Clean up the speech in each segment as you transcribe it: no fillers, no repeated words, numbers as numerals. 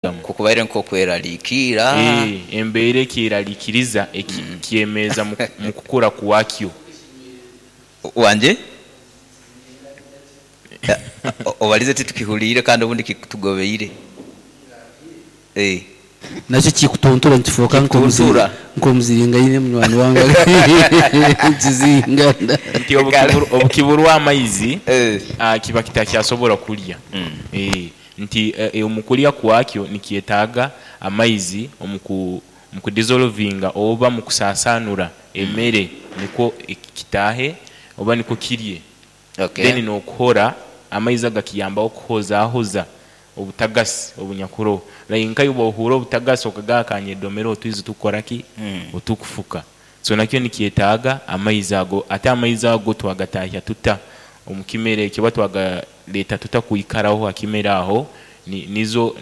Ku kubaire nk'okweraliikirra. Ee, embeera ekyeraliikiriza ekyemeeza mu kukura kwakyo. Wangye? Obalize titukihuliire kandi obundi kikutugobeire. Ee. Nakyo kikutuntura nikifuuka Kikutuntura. nk'omuziringaine munywani wange nikizingana. Nti obukiburwa amaizi, kiba kitakyasobora kulya. Ee. Nti omu kulya kwakyo nikyetaaga amaizi omu ku dissolvinga oba mu kusasanura emere nikwo kitaahe oba nikwo kirye. Then n'okuhora, amaizi agakiyambaho kuhozahoza obutagasi obunyakuroho. Like nka iwe bwohuura obutagasi okagamba kanyedomere otwizi tukukora ki? Otukufuka. So nakyo nikyetaaga amaizi ago. Ate amaizi ago twagatahya tuta omu kimera ekyo oba twagaleeta tuta kwikaraho ha kimera aho nizo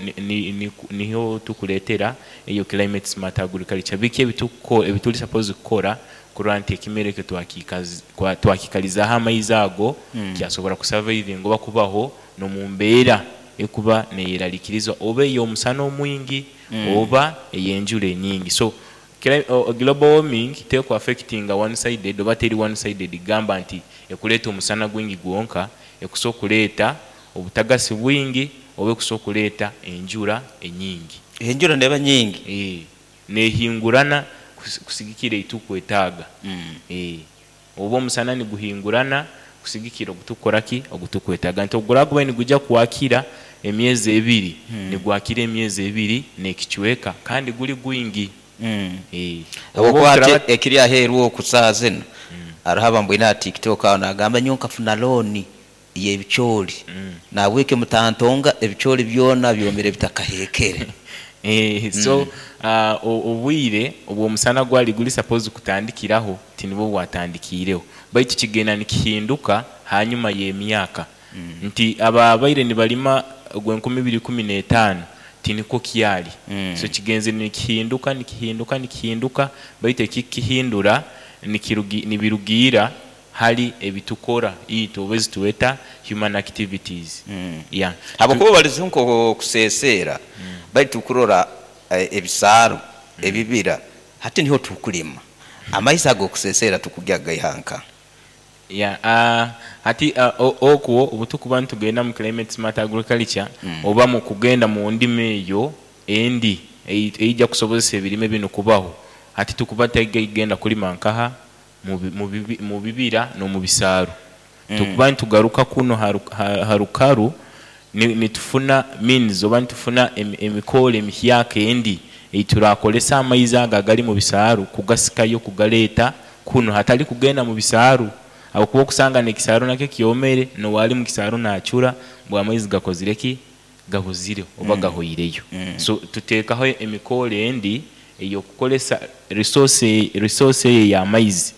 niho tukuleetera eyo climate smart agriculture. Biki ebituri supposed kukora kurora nti ekimera ekyo twakikalizaaho amaizi ago kyasobora ku survivinga oba kubaho n'omu mbeera ekuba neyerarikiriza oba ey'omusana omwingi oba ey'enjura enyingi. So Global warming teku affectinga one sided oba teri one sided kugamba nti ekuleeta omusana gwingi gwonka, ekusobola okuleeta obutagasi bwingi oba ekusobola okuleeta enjura enyingi. Enjura neeba nyingi? Eeh, nehingurana kusigikira eitukwetaaga. Eeh, oba omusana niguhingurana kusigikira ogutukukora ki? Ogutukwetaaga. Nti oguraba gubaire nigwija kwakira emyezi ebiri, nigwakira emyezi ebiri n'ekicweka kandi guri gwingi. Eeh. Oba Habwokuba hati obuturaba. ekiri aheeru oku saaha zinu, haroho abambwine aha TikTok aho naagamba nyowe nkafuna looni y'ebicoori, nahabwekyo mutantonga ebicoori byona byomire bitakaheekere. Eeh so obwire obw'omusana gwali guri supposed kutandikiraho tinibwo bwatandikiireho baitu kigenda nikihinduka hanyuma y'emyaka nti ababaire nibalima ogw'enkumi ibiri ikumi n'etaano tinikwo kyali so kigenzire nikihinduka nikihinduka nikihinduka baitu ekikukihindura nibirugiira hali ebitukora itwe oba ezitweta human activities. Yeah. Habwokuba obalizeho nk'okuseeseera, baitu kurora ebisaaru, ebibira, hati niho tukulima. Amaizi ag'okuseeseera tukugya kugaiha nka? Yeah, hati okwo obutukuba nitugenda mu climate smart agriculture oba mu kugenda mu ndima eyo endi eija kusobozesa ebirime binu kubaho, hati tukuba tutagenda kulima nkaha? Mu bibira n'omu bisaaru. Tukuba nitugaruka kunu ha rukaru nitufuna means oba nitufuna emikoore emihyaka endi ei turakoresa amaizi ago agari mu bisaaru kugasikayo kugaleeta kunu hatari kugenda mu bisaaru ahabw'okuba okusanga n'ekisaaru nakyo kyomere n'owaari mu kisaaru naacura ngu amaizi gakozire ki? Gabuzire oba gahweireyo. So tuteekaho emikoore endi ey'okukoresa resource resource eyo ey'amaizi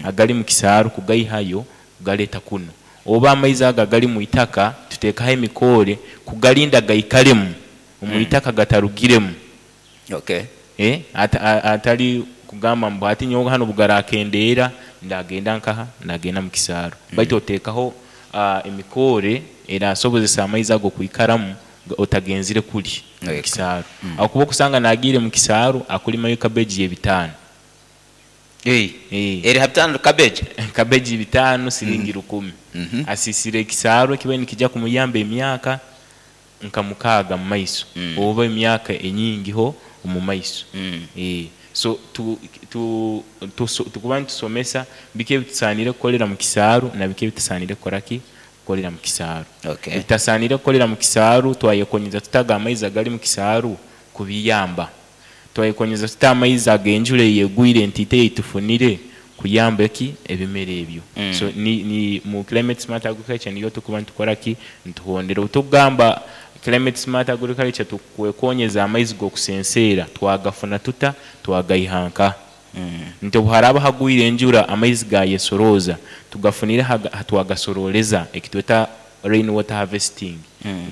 agari mu kisaaru kugaihayo kugaleeta kunu. Oba amaizi ago agari mu itaka tuteekaho emikoore kugarinda gaikaremu omu itaka gatarugiremu. Hatari kugamba mbu hati nyowe hanu obugarakendeera ndagenda nkaha? Ndagenda mu kisaaru. Baitu oteekaho emikoore erasobozesa amaizi ago kwikaramu otagenzire kuri omu kisaaru. Ahakuba okusanga nagiire mu kisaaru akulimayo cabbage y'ebitaano. Eri ha bitaano cabbage? Cabbage bitaano siringi rukumi. Asisire ekisaaru ekibaire nikija kumuyamba emyaka nka mukaaga mu maiso oba emyaka enyingiho omu maiso. So tukuba nitusomesa biki ebitusaaniire kukorera mu kisaaru na biki ebitusaaniire kukora ki? Kukorera mu kisaaru. Ebitasaaniire kukorera mu kisaaru twayekonyeza tuta ago amaizi agali mu kisaaru kubiyamba? Twayekonyeza tuta amaizi ag'enjura eyegwire nti itwe eitufunire kuyamba ki? Ebimera ebyo. So ni mu climate smart agriculture niyo tukuba nitukora ki? Nituhondera. Obu tukugamba climate smart agriculture tukwekonyeza amaizi g'okusenseera twagafuna tuta? Twagaiha nkaha? Nti obu haraaba hagwire enjura amaizi gayesorooza tugafunire hatwagasororeza ekitweta rain water harvesting.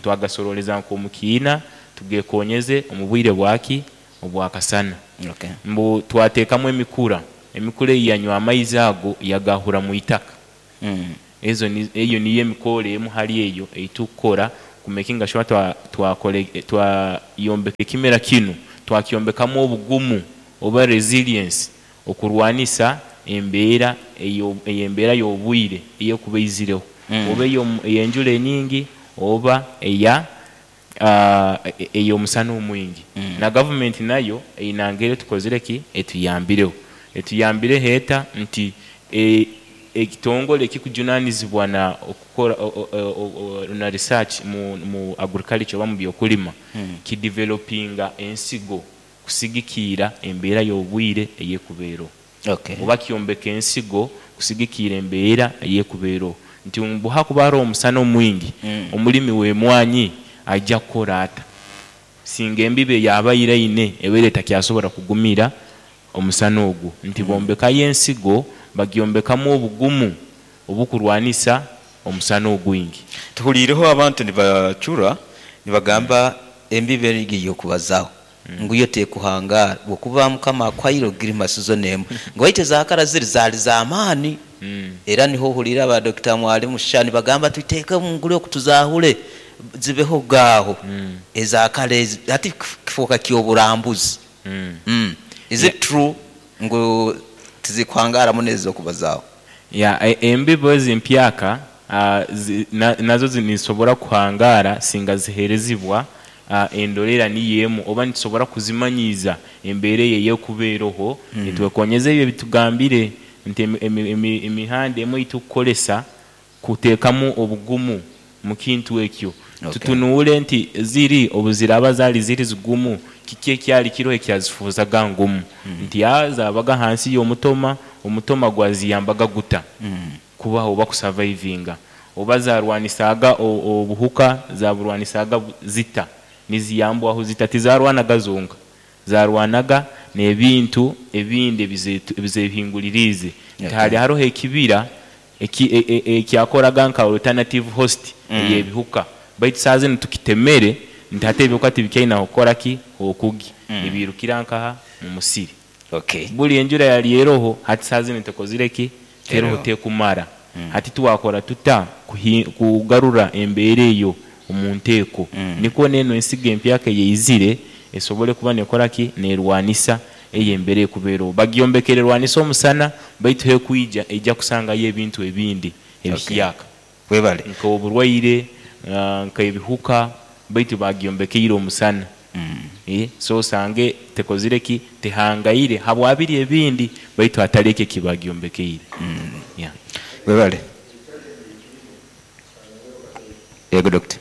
Twagasororeza nk'omu kiina tugekonyeze omu bwire bwaki? Obwakasana. Mbu twateekamu emikura, emikura eyo yanywa amaizi ago yagahura mu itaka. Ezo eyo niyo emikoore emu hali eyo ei tukukora. Kumekinga shuwa twakora twayombeka ekimera kinu, twakyombekamu obugumu oba resilience okurwanisa embeera ey'embeera y'obwire ey'ekuba eizireho, oba ey'enjura enyingi oba eya ey'omusana omwingi. Na gavumenti nayo eine ngeri etukozire ki? Etuyambireho. Etuyambireho eta? Nti ekitongore ekikujunanizibwa na okukora na research mu agriculture oba mu by'okulima kidevelopinga ensigo kusigikiira embeera y'obwire ey'ekuba eroho. Oba kyombeka ensigo kusigikiira embeera ey'ekuba eroho. Nti mbu hakuba haroho omusana omwingi, omulimi w'emwanyi aija kukora ata? Singa embibo eyabaire aine ebaire etakyasobora kugumira omusana ogwo. Nti bombekayo ensigo bagyombekamu obugumu obukurwanisa omusana ogwingi. Tuhuliireho abantu nibacura nibagamba embibo egi ey'okubazaho ngu yo tekuhangaara bwokuba Mukama akuhaire ogirima sizoni emu ngu baitu ezakara ziri zaali z'amaani. Era niho ohuliire aba Dokita Mwalimu Sha nibagamba tuteeke omu nguli oku tuzahure zibeho gaaho ezakara ezi hati kifooka ky'oburambuzi. Is it true ngu tizikuhangaara muno ezi ez'okubazaaho? Yeah, embibo ezi empyaka nazo nizisobora kuhangaara singa ziherezibwa endorera niyo emu oba nitusobora kuzimanyiiza embeera eyo ey'ekuba eroho nitwekonyeza ebyo ebitugambire nti emihanda emwe eyitukukoresa kuteekamu obugumu mu kintu ekyo. Tutunuule nti ziri obu ziraaba zaali ziri zigumu, kiki ekyali kiroho ekyazifuuzaga ngumu? Nti aa zaabaga hansi y'omutoma, omutoma gwaziyambaga guta kubaho oba kusavaivinga? Oba zaarwanisaaga obuhuka, zaaburwanisaaga zita? Niziyambwaho zita? Tizaarwanaga zonka, zaarwanaga n'ebintu ebindi ebizehinguliriize. Nti haali haroho ekibira ekyakoraga nka alternative host ey'ebihuka baitu saaha zinu tukitemere nti hati ebihuka tibikyaine ah'okukora ki? H'okugya. Nibiirukira nkaha? Mu musiri. Buri enjura yali eroho hati saaha zinu tekozire ki? Teroho tekumara. Hati twakora tuta kugarura embeera eyo omu nteeko nikwo n'enu ensigo empyaka eyaizire esobole kuba nekora ki? Nerwanisa eyo embera ekuba eroho. Bagyombekere erwanise omusana baitu hekwija eija kusangayo ebintu ebindi ebihyaka Webale. Nk'oburwaire, nk'ebihuka baitu bagyombekeire omusana. So osange tekozire ki? Tehangaire habwa biri ebindi baitu hatali eki ekibagyombekeire. Yeah. Webale. Yego Doctor.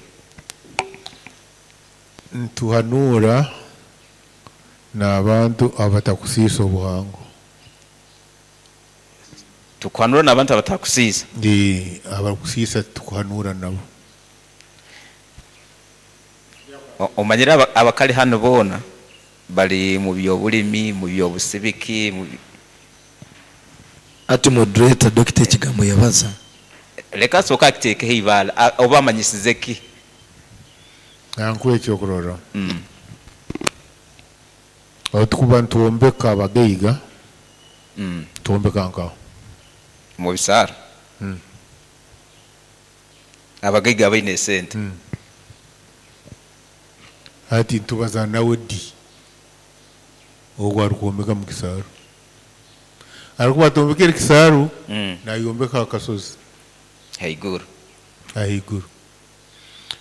Nituhanuura n'abantu abatakusiisa obuhango. Tukuhanuura n'abantu abatakusiisa. Ee, abarikusiisa titukuhanuura nabo. Omanyire abakali hanu boona bari mu by'obulimi, mu by'obusibiki, mu. Hati moderator Dokita ekigambo yabaza. Leka asooke akiteekeho eibaale oba amanyisize ki? Kankuhe ekyokurorraho. Obu tukuba nitwombeka abagaiga, twombeka nkaha? Omu bisaaro? Abagaiga abaine esente. Hati nitubaza nawe di? Ogu arikwombeka omu kisaaru. Arikuba atombekere kisaaru, nayombeka aha kasozi. Haiguru. Ahaiguru.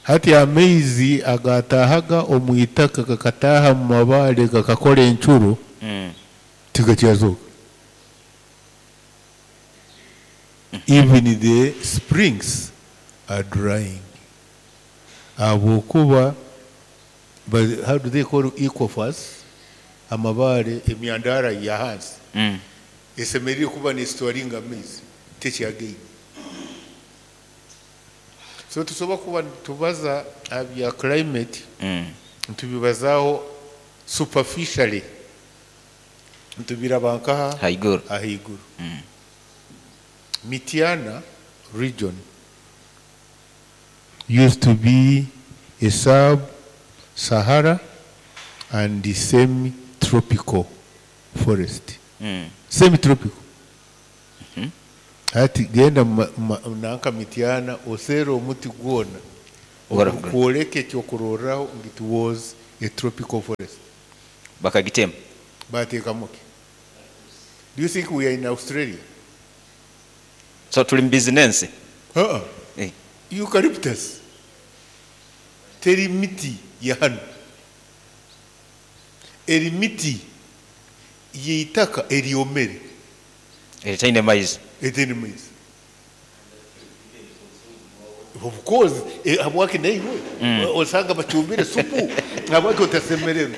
Hati amaizi agaataahaga omu itaka gakataaha omu mabaare gakakora encuro, tigakyazooka. Even the springs are drying ahabw'okuba how do they call aquifers, amabaare, emyandaara y'ahansi esemeriire kuba nesitoringa amaizi tekyagaine. So nitusobora kuba nitubaza aha bya climate nitubibazaaho superficially, nitubiraba nkaha? Haiguru. Ahaiguru. Mityana region used to be a sub Sahara and semi tropical forest. Semi tropical. Hati genda nanka Mityana oseere omuti gwona. Ogurukwoleka ekyokurorraho ngu it was a tropical forest. Bakagitema. Bateekamu ki? Do you think we are in Australia? So tuli mu bizinensi. Uh-uh. Eh. Eucalyptus teri miti ya hanu. Eri miti y'eitaka eryomere. Eritaine maizi. Etaine maizi. Of course, eh, habwaki naiwe osanga bacumbire supu habwaki otasemererwa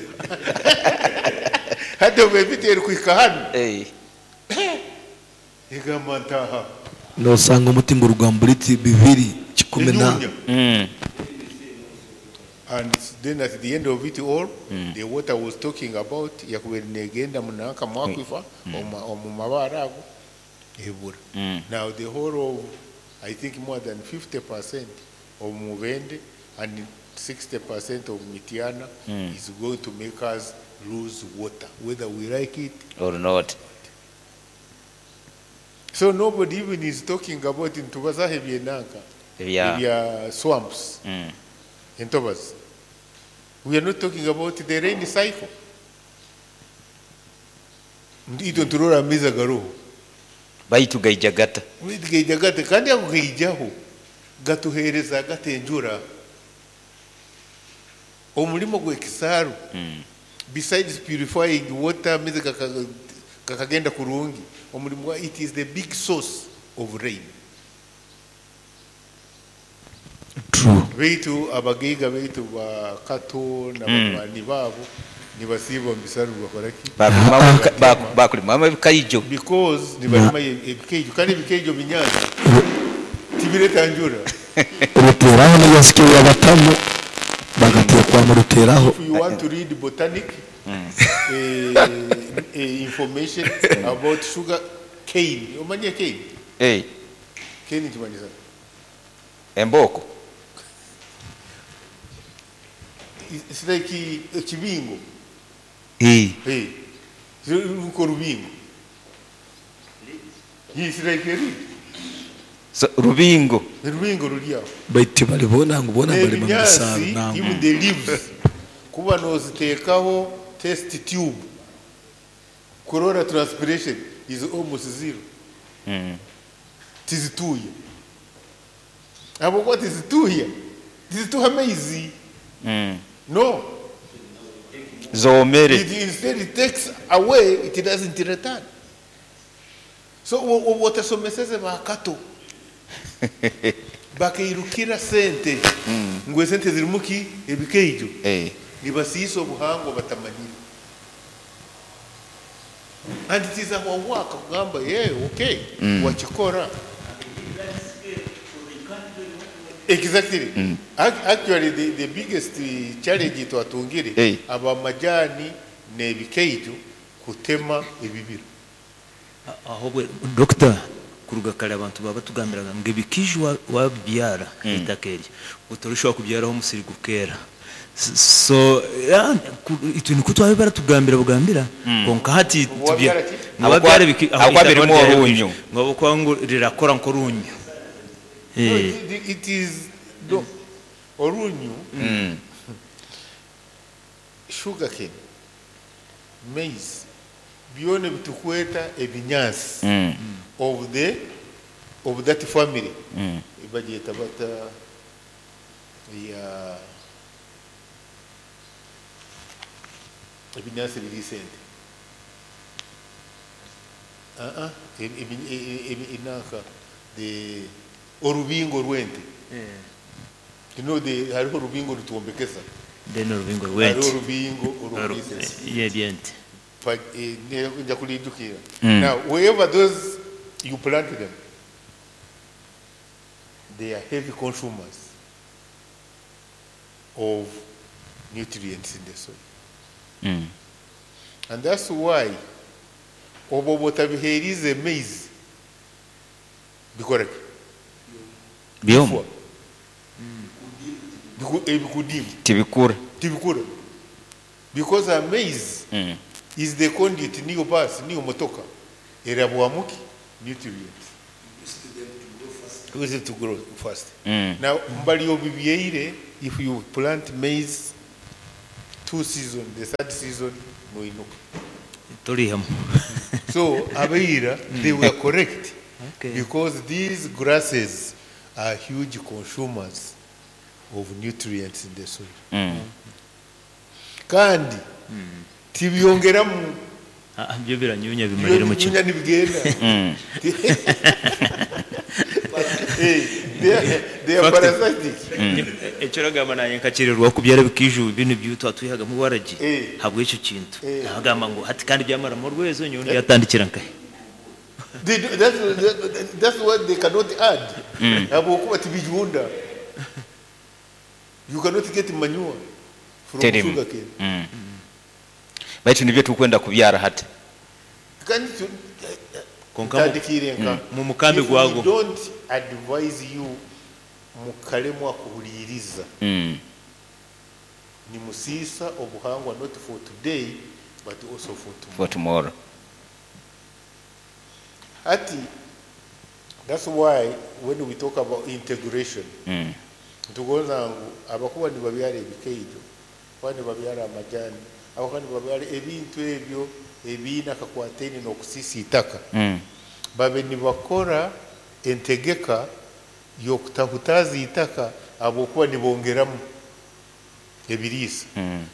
hati obu emiti erikuhika hanu Eh. egamba ntaha nosanga omuti nguruga mu buliti bibiri kikumi na enyunya. And then at the end of it all, the water was talking about yakubaire negenda munanka mu aquifer, omu mabaare ago ebura. Now the whole of, I think more than 50% of Mubende and 60% of Mityana is going to make us lose water, whether we like it Or not. So nobody even is talking about nitubazaho ebyenanka, Ebya ebya swamps, entobazi. We are not talking about the rain cycle. Itwe niturora amaizi agaroho. Baitu gaija gata. Baitu gaija gata, kandi ago gaijaho gatuheereza gata enjura. Omurimo gw'ekisaaru, besides purifying water, amaizi gakagenda kurungi, omurimo gwa, it is the big source of rain. True. Baitu abagaiga baitu ba Kato na banywani baabo nibasiiba omu bisaaru nibakora ki? Bakulimamu ebikaijo. Because nibarima ebikaijo, kandi ebikaijo binyansi tibireta njura. Ruteraho n'ebyansike byabatamu bagateekwa mu ruteraho. If you want to read botanic information about sugar cane, omanye cane? Eh. Cane kimanyisa? Embooko. It's like ekibingo. Eh. Eh. Ruko rubingo. It's like a reed. So, rubingo. Rubingo ruri aho. Baitu balibona ngu bona balima mu bisaaru N'ebinyaasi, nangu. even the leaves, kuba noziteekaho test tube, kurora transpiration is almost zero. Tizituuya. Habwokuba tizituuya, tizituha amaizi. No. Zoomere. It, instead it takes away, it doesn't return. So otasomeseze ba Kato. Bakairukira sente. Ngu esente zirimu ki? Ebikaijo. Eh. Nibasiisa obuhangwa batamanyire. And it is our work kugamba, yeah, okay, wakikora. Exactly. Actually, the biggest challenge twatungire, abamajani n'ebikaijo kutema ebibira. Ahobwe doctor, kuruga kare abantu baba batugambiraga ngu ebikaijo wabibyara eitaka eryo otorishobora kubyaraho omusiri gukeera. So itwe nikwo twabe baratugambira bugambira, konka hati Wabyara ki? wabyara Aho aho birimo itaka orunyu. Ngo ahabwokuba ngu rirakora nk'orunyu. No, it is no, orunyu, sugarcane, maize, byona bitukweta ebinyansi of that family. Bagyeta bata ya ebinyansi biri sente. Uh-uh. Inanka, the orubingo rw'ente. You know, the hariho orubingo rutwombekesa. Then orubingo Hariho rw'ente. orubingo orubingo. Yeah, by'ente. Nja kulijukira. Now, wherever those you plant them, they are heavy consumers of nutrients in the soil. And that's why obo botabiherize maize bikora ki? Byoma. Ebikudimu. Tibikura. Tibikura. Because a maize is the conduit, niyo bus, niyo motoka. Erabwamuki nutrients. With to grow fast. Now, mbali obibyeire, if you plant maize two season, the third season, noinuka. Torihamu. So, abaira, they were correct. Okay. Because these grasses are huge consumers of nutrients in the soil. Kandi, tibyongeramu. Ah, byo biranyunya bimarira mu kimwe. Binyunya nibigenda. Eh, they are parasitic. Ekyo oragamba naanye nkakyererwa kubyara ebikiju binu byitwa twihagamu waragi Eh. habw'ekyo kintu. Eh. Nagamba ngu hati kandi byamaramo orwezo nyowe ndyatandikira nkahe. That's what they cannot add. Habwokuba tibijunda. You cannot get manure from Terimu. sugarcane. Baitu nibyo tukwenda kubyara hati. Kandi Konka mu- tandikire nka mu mukambi If we gwago. don't advise you mukalemwa kuhuliriza nimusiisa obuhangwa not for today but also for tomorrow. For tomorrow. Ati, that's why when we talk about integration, nitugonza ngu abakuba nibabyara ebikeijo, kuba nibabyara amajani, abakuba nibabyara ebintu ebyo ebiine akakwataine n'okusiisa itaka, babe nibakora entegeka y'okutahutaza itaka ahabwokuba nibongeramu ebiriisa.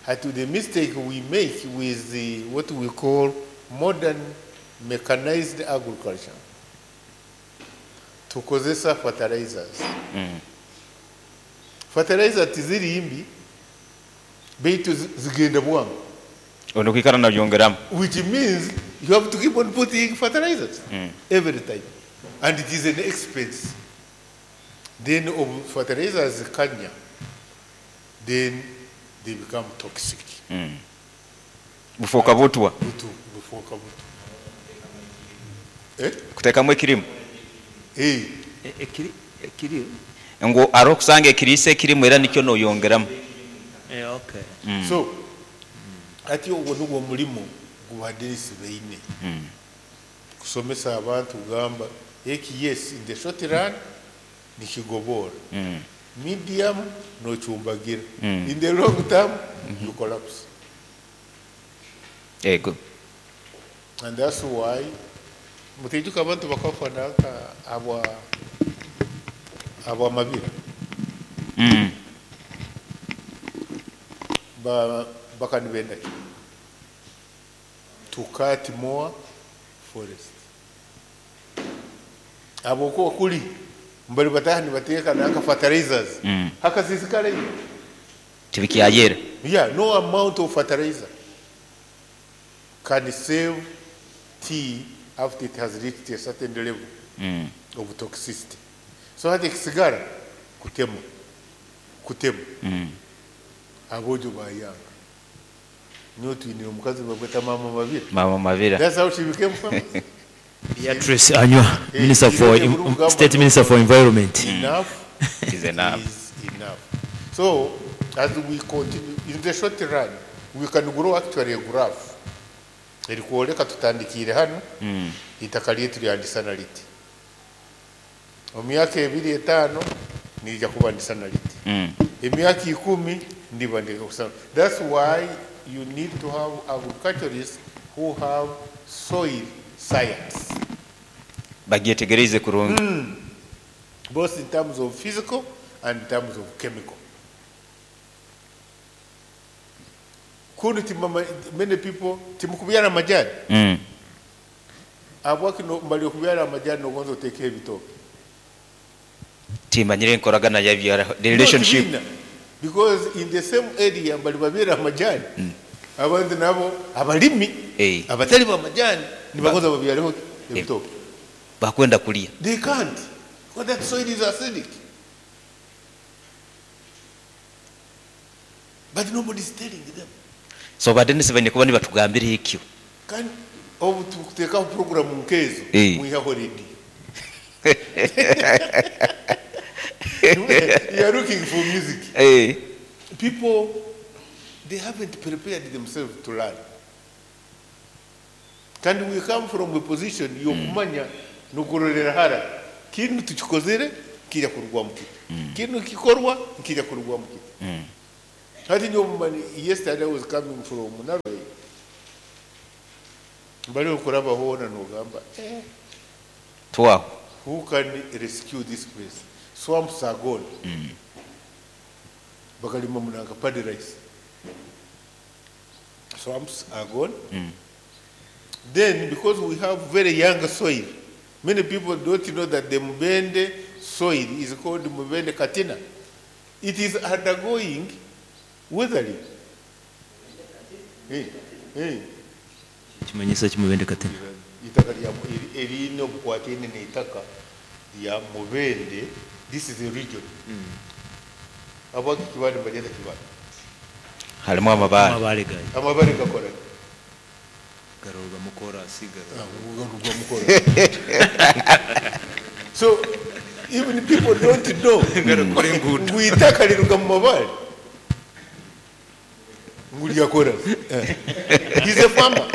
Hati the mistake we make with the, what we call modern mechanized agriculture, tukozesa fertilizers. Fertilizer tiziri mbi, baitu zigenda bwangu, Ono kwikara nabyongeramu. which means you have to keep on putting fertilizers every time, and it is an expense. Then of fertilizers kanya, then they become toxic. Bufoka butwa. Butu, bufoka butu. Eh? Kutekamu ekirimu. Eh. Ekiri ekiri Ngu ari okusanga ekiriisa ekirimu era nikyo noyongeramu. eh okay. So, ati ogwo nugwo mulimu gubaderisi baine kusomesa abantu kugamba eki, yes, in the short run nikigobora, medium nochumbagira, in the long term you collapse. Ego. And that's why mutijuka abantu bakafa nanka abwa abwa mabira ba bakanibenda ki to cut more forest abokuba kuli mbali bataha nibateeka nanka fertilizers hakasisikara ino. Tibikyayera. Yeah, no amount of fertilizer can save tea after it has reached a certain level of toxicity. So hati ekisigara kutema, kutema. Abojo bayanga. Niyo twinire omukazi babweta Mama Mabira. Mama Mabira. That's how she became famous. Beatrice Anywa, Minister for Irinde Burugamba. State Minister for Environment. Enough Is enough. is enough. So as we continue, in the short run, we can grow actually a graph. Erikwoleka tutandikire hano, itaka lyetu lyandisana liti. Omu myaka ebiri etaano nirija kuba ndisana liti. Emyaka 10 ndiba ndikusana. That's why you need to have agriculturists who have soil science, Bagyetegereze kurungi. both in terms of physical and in terms of chemical. Kundi timama, many people timukubyara amajani abwaki mbali okubyara amajani nogonza oteeke ebitooke. Timanyire enkoragana yabyara the relationship. No, tibina. Because in the same area mbali babyara amajani, abantu nabo abalimi Eh. abatali bamajani nibagonza babyareho ebitooke. Bakwenda kulya. They can't because that soil is acidic, but nobody is telling them. So badenisi baine kuba nibatugambira ekyo. Kandi obu tukuteekaho programu nkezo, Eh. mwihaho radio. You are looking for music. Eh. People, they haven't prepared themselves to learn. Kandi we come from a position y'okumanya n'okurorera hara kintu tukikozere Nkirya kurugwamu kita? Kinu kikorwa nkirya kurugwamu kita? Hati nyowe mumani yesterday I was coming from Naroi. Mbali okuraba hoona nogamba eh, Twaho. Who can rescue this place? Swamps are gone. Bakalima munanka paddy rice. Swamps are gone. Then, because we have very young soil, many people don't know that the Mubende soil is called Mubende Katina. It is undergoing weathering. Hey, hey. Kimanyiso kimubende katina. Itaka lya erine obukwatine n'itaka lya Mubende. This is a region. Abaki Kibale mbalyeta Kibale. Harimu amabaare. Amabaare gayo. Amabaare gakora ki? Garugamu korasi garugamu. Garugamu korasi. So even people don't know ngu itaka riruga mu mabaare ngu rya korasi. He's a farmer.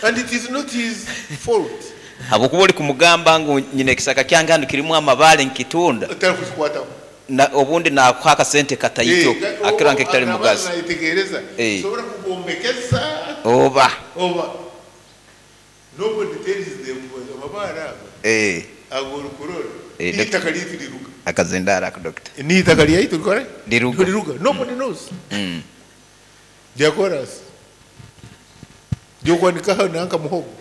And it is not his fault. Habwokuba ori kumugamba ngu nyine ekisaka kyange hanu kirimu amabaare nkitunda. Otarikukikwataho. Na obundi nakuha akasente kataito akira nk'ekitari mugazi. Nayetegereza. Nsobora kugombekesa. Oba. Oba. Nobody tells them amabaare ago. Ago orikurora. N'eitaka ryaitu riruga. Akazindaro ako doctor. N'eitaka ryaitu rikora ki? Riruga. Riruga. Nobody knows. Rya korasi. Ry'okwanikaho nanka muhogo.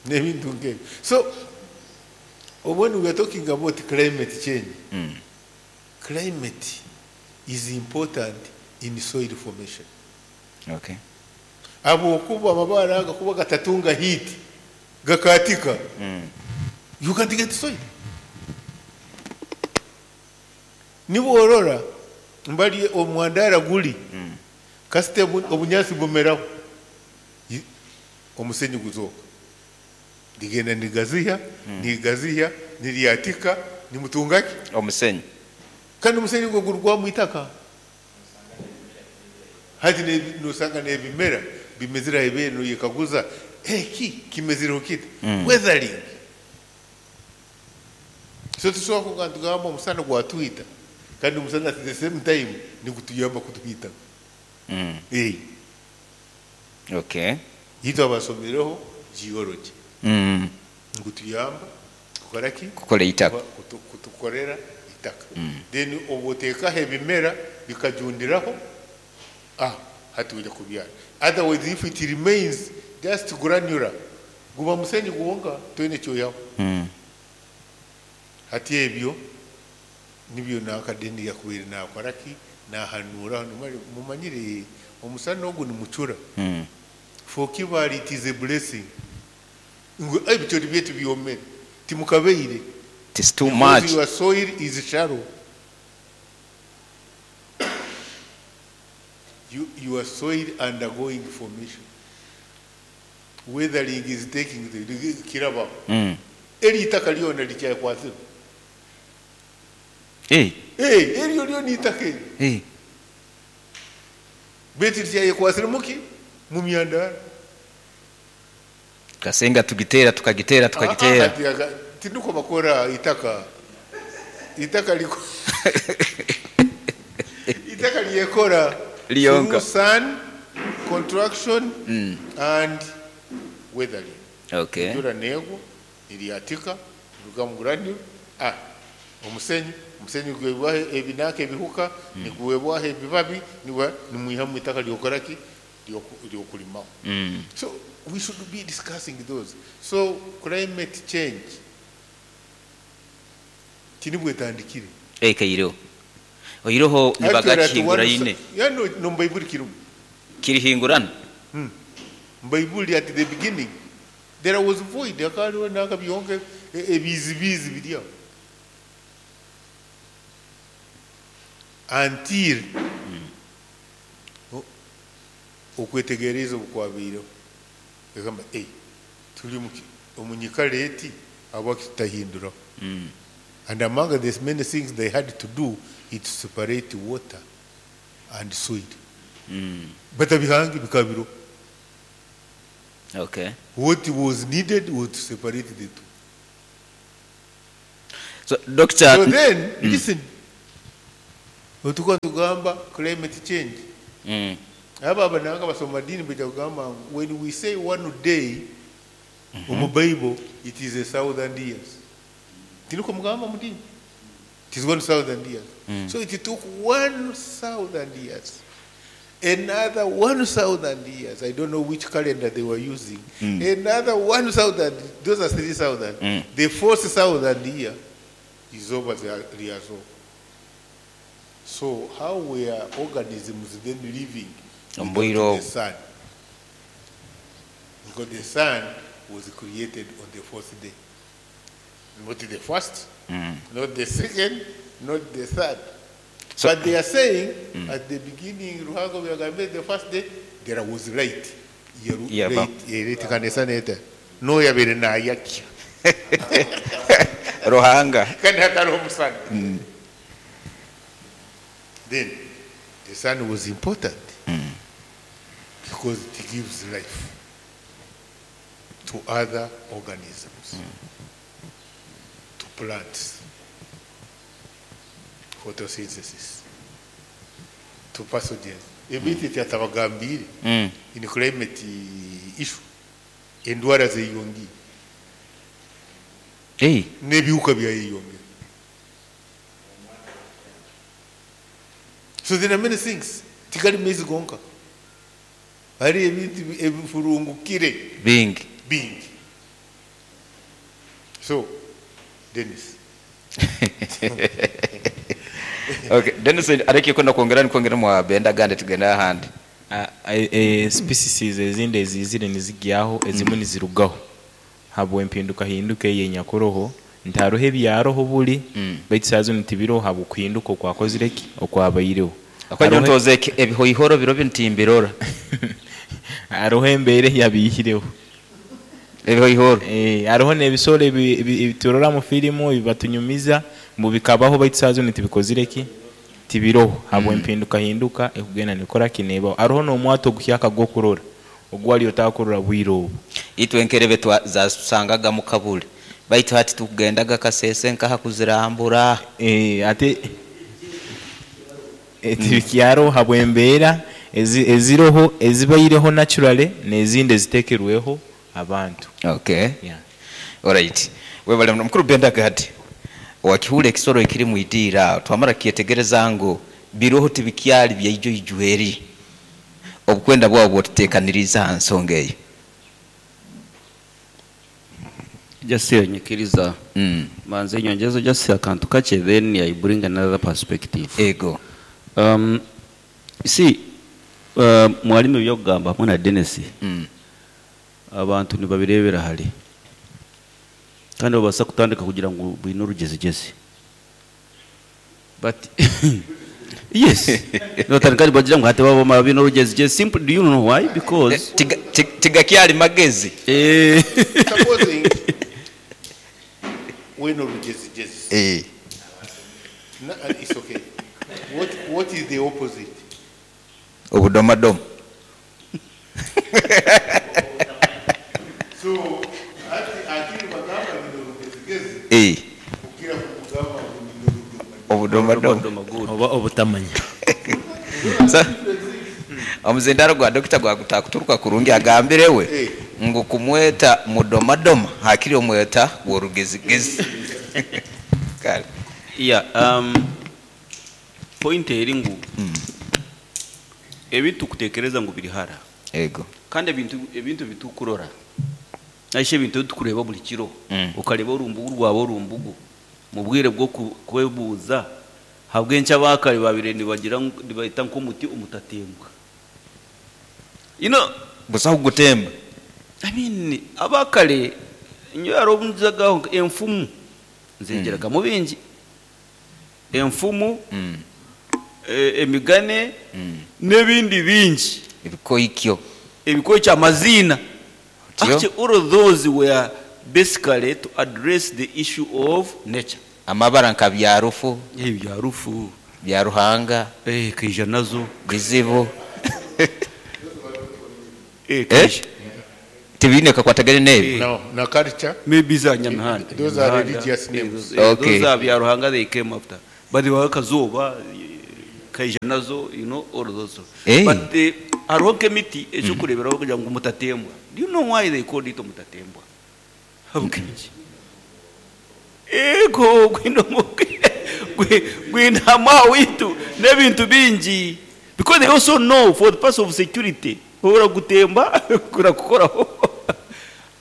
N'ebintu nk'ebyo. So when we are talking about climate change, climate is important in soil formation. Okay. Ahabw'okuba amabaare aga kuba gatatunga heat, gakaatika, you can't get soil. Niba orora mbari omwandara guri, kasita obunyaasi bumeraho, omusenyi guzooka. Rigenda nigaziha, nigaziha, niryatika, nimutunga ki? Omusenyi. Kandi omusenyi ogwo gurugwamu itaka. Hati nosanga n'ebimera bimezire aha ibeere noyekaguza, eki kimezireho kita? Weathering. So tusobola kuga nitugamba omusana gwatwita, kandi omusana at the same time nigutuyamba kutuhita. Okay. Itwe abasomireho geology. Nigutuyamba kukora ki? Kukora itaka. Kutukorera itaka. Then obu oteekaho ebimera bikajundiraho, hati oija kubyara. Otherwise if it remains just granular, guba musenyi gwonka toine eki oihaho. Hati ebyo nibyo nanka then yakubaire nakora ki? Nahanuura mumanyire omusana ogu nimucura. For Kibale it is a blessing. Ngu ebicoori byaitu byomere timukabaire. It is too Because much. your soil is shallow. You, your soil undergoing formation. Weathering is taking the kirabaho. Eri itaka ryona rikyakwasire. Eryo ryona itaka eryo. Beitu rikyayekwasire muki? Mu myandara. Kasenga tugiteera tukagiteera tukagiteera. Tinukwo bakora itaka. Itaka liko itaka lyekora Lyonka. through sun, contraction and weathering. Enjura neegwa, niryatika, niruga mu granule, omusenyi, omusenyi niguhebwaho ebinaka ebihuka, niguhebwaho ebibabi, nimwihamu itaka ryokora ki? Ryokurimaho. So we should be discussing those. So climate change tinibwo etandikire. Ekaireho. Oiroho Actually, at nibagakihingura one ine. Yeah, no, no, Baibuli kirimu. Kirihingurana? Baibuli at the beginning there was void, hakariho nanka byonka ebizibizi biri aho. Until okwetegereza obu kwabaireho. Egamba, turi omu nyikara eti ahabwaki tutahinduraho. And among the many things they had to do is to separate water and soil. Batabihange bikaba biriho. Okay. What was needed was to separate the two. So, doctor, So then, listen. Otuka tugamba climate change. Aba abananga basoma dini baija kugamba ngu when we say one day omu Bible it is 1,000 years. Tiniko mugamba mu dini. It is 1,000 years. So it took 1,000 years. Another 1,000 years. I don't know which calendar they were using. Another 1,000. Those are 3,000. The 4,000 year is over the Riazo. So how were organisms then living without Ombwire the sun? Because the sun was created on the fourth day. Not the first, not the second, not the third. But they are saying at the beginning, Ruhango byagambe the first day, there was light. Yeah, Light, eretikana neta. No yabere nayakya. Ruhanga. Kandi hatariho omusana. Then the sun was important because it gives life to other organisms, to plants, photosynthesis, to pathogens. Ebintu tyatabagambire in climate issue, endwara zeyongiire Hey. n'ebihuka byayeyongera. So there are many things. Tikali maizi gonka. Hari ebintu ebifurungukire Bingi. bingi. So, Dennis. Okay, Dennis areke kwenda kwongera nikwongera mwa benda gande tugenda ahandi. Species ezindi ezizire nizigyaho ezimwe nizirugaho habw'empindukahinduka eyi enyakuroho nti haroho ebyaroho buri baitu saaha zinu tibiroho habw'okuhinduka okwakozire ki okwabaireho. Akwanya Haroho- ntoze ebihoihoro biro bintimbirora. Haroho embeera eyabiihireho. Ebihoihoro. Hariho n'ebisoro ebiturora mu firimu ebibatunyumiza ngu bikabaho baitu saaha zinu tibikozire ki tibiroho habw'empindukahinduka ekugenda nekora ki nebaho. Haroho n'omwato oguhyaka gw'okurora ogu wali otakurora bwire obu. Itwe enkerebe zasangaga mu kabule. Baitu hati tukugendaga kasese nkaha kuzirambura. Ate tibikyaro habw'embeera eziroho ezibaireho naturally n'ezindi eziteekerweho abantu. Okay. Yeah. Alright. Webale muno mukuru Benda Gadi. Wakihura ekisoro ekiri mu idiira twamara kyetegereza ngu biroho tibikyali byaijo ijweri. Obukwenda bwabo bwotuteekaniriza aha nsonga eyo. Just nyikiriza manze nyongezo just akantu kakye then I bring another perspective. Ego. See, mwalimu ebyokugamba hamwe na Dennis. Abantu nibabirebera hare. Kandi babasa kutandika kugira ngu bwine orugezigezi. But yes. Nibatandika nibagira ngu hati baba bwine orugezigezi. Simple, do you know why? Because Tigakyali magezi. Supposing weno rugezigezi. No, it's okay. What is the opposite? Obudomadoma. So, ati bagamba bino rugezigezi. Kugira kugamba bino Obudomadoma. Oba obutamanya. So, omuzindaro gwa dokita gwagutakuturuka kurungi agambirewe ngu kumweta mudomadoma hakiri omweta worugezigezi. Kale. Yeah, point eri ngu ebintu kutekereza ngu biri hara. Ego. Kandi ebintu bitukurora. Naishe ebintu tukureba buli kiro. Okareba orumbugu rwawe orumbugu. Mu bwire bwo kwebuuza habwenki abakare babire nibagira nibaita nk'omuti umutatembwa. You know, busaho gutemba. I mean, abakare nyo yarobunzagaho enfumu nzengeraga mu bingi. Enfumu, emigane, n'ebindi bingi. Ebikoikyo. Ebikoikyo amazina. Otyo. Actually, all of those were basically to address the issue of nature. Amabara nka byarufu. Byarufu. Bya Ruhanga. Kaija nazo. Bizibu. Kaija. Tibiine kakwatagane n'ebi. No, na culture. Maybe za Nyamihanda. Those are religious names. Okay. Those are Byaruhanga they came after. But they were Kazooba, Kaija nazo, you know, all those. Eh. But hariho nk'emiti ekyokureeberaho kugira ngu mutatembwa. Do you know why they called it mutatembwa? Habw'enki? Ego, gwine gwine witu n'ebintu bingi. Because they also know for the purpose of security, oragutemba kurakukoraho.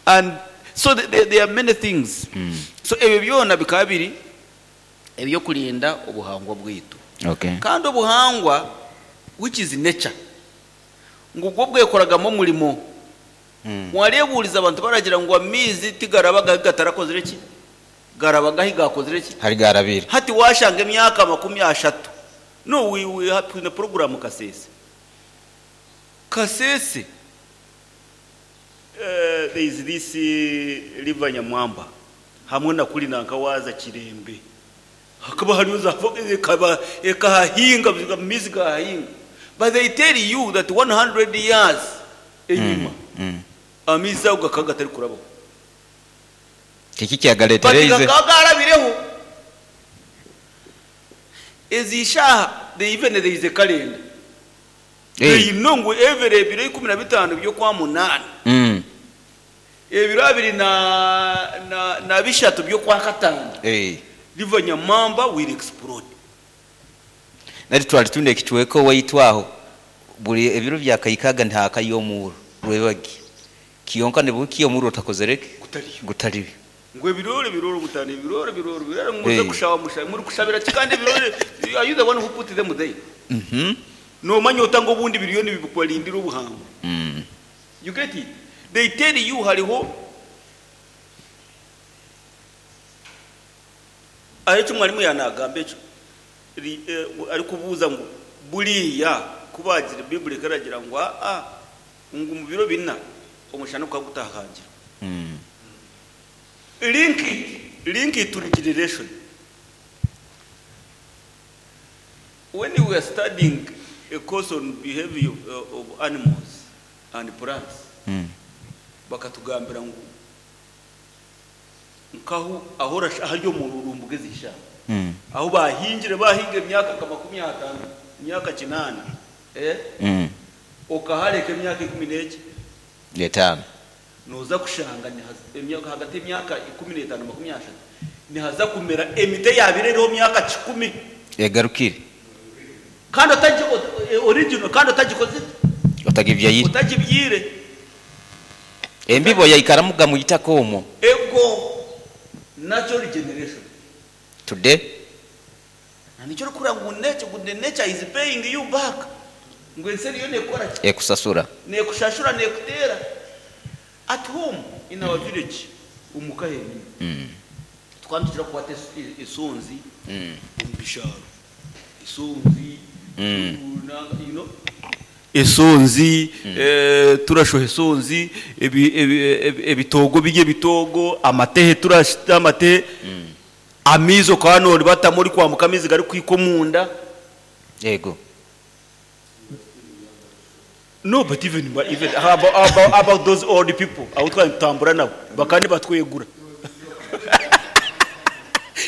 And so there are many things. So ebyo byona bikaba biri ebyokurinda obuhangwa bwitu. Okay. Kandi obuhangwa, which is nature, ngu bwo bwekoragamu omurimo. Mwarebuuriza abantu baragira ngu amaizi tigarabaga ahi gatarakozire ki? Garabaga ahi gakozire ki? Hari garabire. Hati washanga emyaka 30. No, we have twine program Kasese. Kasese, there is this river Nyamwamba hamwe na kuri nanka waza Kirembe. Hakaba hariyo za ekaba ekahahinga amaizi gahahinga. But they tell you that 100 years enyima amaizi ago gakaba gatari kurabaho. Kiki kyagareetereize? But gakaba garabireho. Ezi shaha, they even there is a calendar. They know ngu every ebiro 15 by'okwa 8. Ebiro abiri na bishatu by'okwa 5. River Nyamwamba will explode. Nari twali tune ekitweko waitwaho buri ebiro bya kayikaga ntaka yomuro rwebagi kiyonka ne buki yomuro utakozereke gutariyo ngo ebirore birore mutane ebirore birore birore muze kushawa musha muri kushabira kikandi ebirore, are you the one who put them there? No manya otanga obundi biriyoni bibukwalindira obuhango. You get it? They tell you hariho aho mwarimu yanagamba ekyo ari kubuuza ngu buriya kubagira Bible karagira ngu a ngu mu biro bina omushana ukagutahangira. Link it to regeneration. When we were studying a course on behavior of animals and plants, bakatugambira ngu nkaho ahora ahari omururumbu gezisha. Aho bahingire bahinga emyaka nka 50, emyaka 8. Okahareka emyaka 15. 5. Noza kushanga emyaka hagati y'emyaka 15 30 nihaza kumera emite yabireho myaka 10 egarukire. Kandi otaji original kandi otagikoze otagibyayire. Otagibyire. Embibo yaikaramuga muyitako omwo. Ego natural regeneration. Today na nicyo kura ngu nature, the nature is paying you back. Ngo enseri yo nekora ki? Ekusasura. Nekushashura nekutera. At home in our village umukaheni. Twandikira kwate isonzi umbisharo. Isonzi you know esonzi turashoha esonzi ebitogo bijye bitogo amatehe turashita amate amizo kanori batamuri kwamuka amizi gari kwikomunda. Yego. No, but even about those old people abo twatambura nabo bakandi batwegura.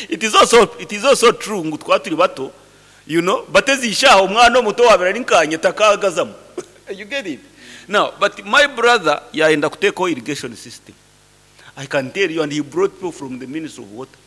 It is also true ngo twaturi bato, you know, batezishaho umwana muto wabera ninkanye takagazamo. You get it? Now, but my brother yaenda kuteko irrigation system. I can tell you, and he brought people from the Ministry of Water.